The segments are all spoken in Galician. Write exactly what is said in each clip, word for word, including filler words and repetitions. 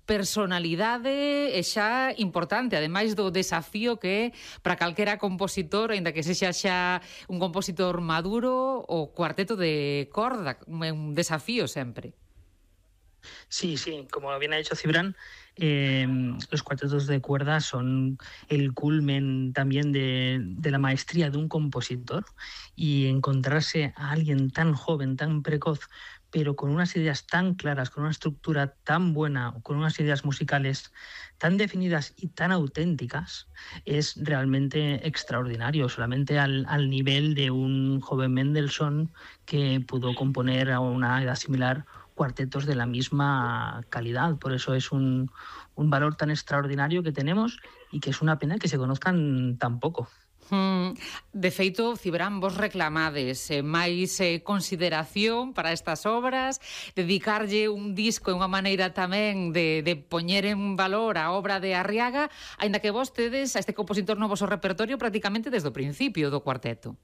personalidade e xa importante, ademais do desafío que é para calquera compositor, aínda que sexa xa un compositor maduro, o cuarteto de corda, un desafío sempre. Sí, sí, como bien ha dicho Cibran, eh, los cuartetos de cuerda son el culmen también de, de la maestría de un compositor, y encontrarse a alguien tan joven, tan precoz, pero con unas ideas tan claras, con una estructura tan buena, con unas ideas musicales tan definidas y tan auténticas, es realmente extraordinario, solamente al, al nivel de un joven Mendelssohn que pudo componer a una edad similar cuartetos de la misma calidad. Por eso es un, un valor tan extraordinario que tenemos, y que es una pena que se conozcan tan poco. Mm, de feito, Cibran, vos reclamades eh, máis eh, consideración para estas obras, dedicarlle un disco e unha maneira tamén de, de poñer en valor a obra de Arriaga, aínda que vos tedes a este compositor no voso repertorio prácticamente desde o principio do cuarteto.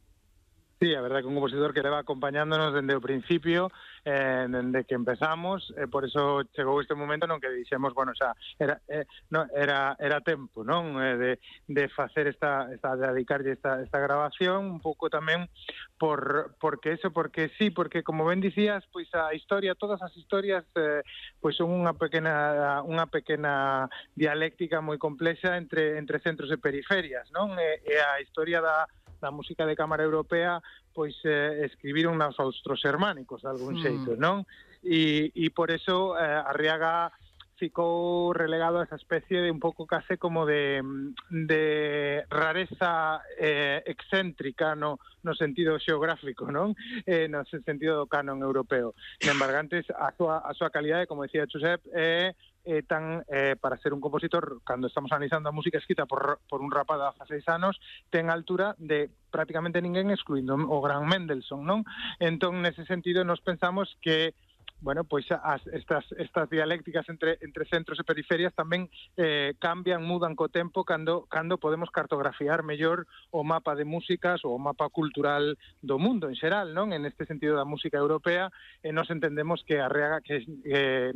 Sí, a verdade que un compositor que leva acompañándonos dende o principio, eh, dende que empezamos, eh, por eso chegou este momento non que dixemos, bueno, xa, era eh, no, era era tempo, non, eh, de de facer esta esta de dedicarlle esta esta grabación, un pouco tamén por porque eso, porque sí, porque como ben dicías, pois a historia, todas as historias eh, pois son unha pequena unha pequena dialéctica moi complexa entre entre centros e periferias, non? E, e a historia da da música de cámara europea, pois eh, escribiron nos austros germánicos, de algún xeito, non? E, e por eso eh, Arriaga ficou relegado a esa especie de un pouco case como de, de rareza eh, excéntrica no, no sentido xeográfico, non? Eh, no sentido do canon europeo. Sen embargantes, a súa, a súa calidade, como decía Josep, é eh, Eh, tan, eh, para ser un compositor, cando estamos analizando a música escrita por, por un rapaz de dezasseis anos, ten a altura de prácticamente ninguén, excluindo o gran Mendelssohn, non? Entón, nese sentido, nos pensamos que bueno, pois as, estas, estas dialécticas entre, entre centros e periferias tamén eh, cambian, mudan co tempo cando, cando podemos cartografiar mellor o mapa de músicas ou o mapa cultural do mundo en xeral, non? En este sentido da música europea, e nos entendemos que Arriaga que, eh,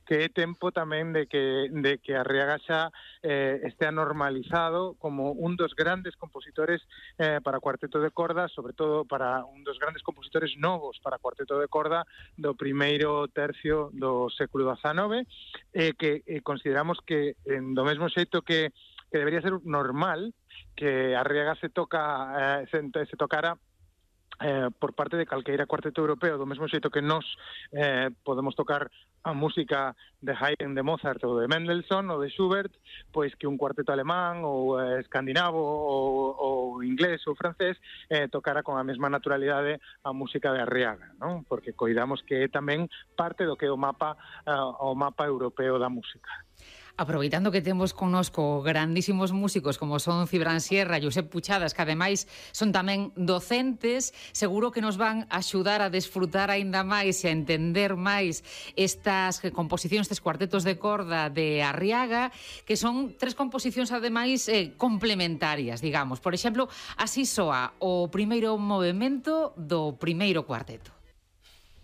que é tempo tamén de que, de que Arriaga xa eh, estea normalizado como un dos grandes compositores eh, para cuarteto de corda, sobre todo para un dos grandes compositores novos para cuarteto de corda do primeiro tercio do século dezanove, eh, que eh, consideramos que en do mesmo xeito que, que debería ser normal que Arriaga se toca eh, se, se tocara eh, por parte de calqueira cuarteto europeo, do mesmo xeito que nós eh, podemos tocar a música de Haydn, de Mozart ou de Mendelssohn ou de Schubert, pois que un cuarteto alemán ou eh, escandinavo ou, ou inglés ou francés eh, tocara con a mesma naturalidade a música de Arriaga, non? Porque coidamos que é tamén parte do que é o mapa uh, o mapa europeo da música. Aproveitando que temos connosco grandísimos músicos como son Cibran Sierra e Josep Puchadas, que ademais son tamén docentes, seguro que nos van axudar a desfrutar aínda máis e a entender máis estas composicións, estes cuartetos de corda de Arriaga, que son tres composicións ademais eh, complementarias, digamos. Por exemplo, así soa o primeiro movemento do primeiro cuarteto.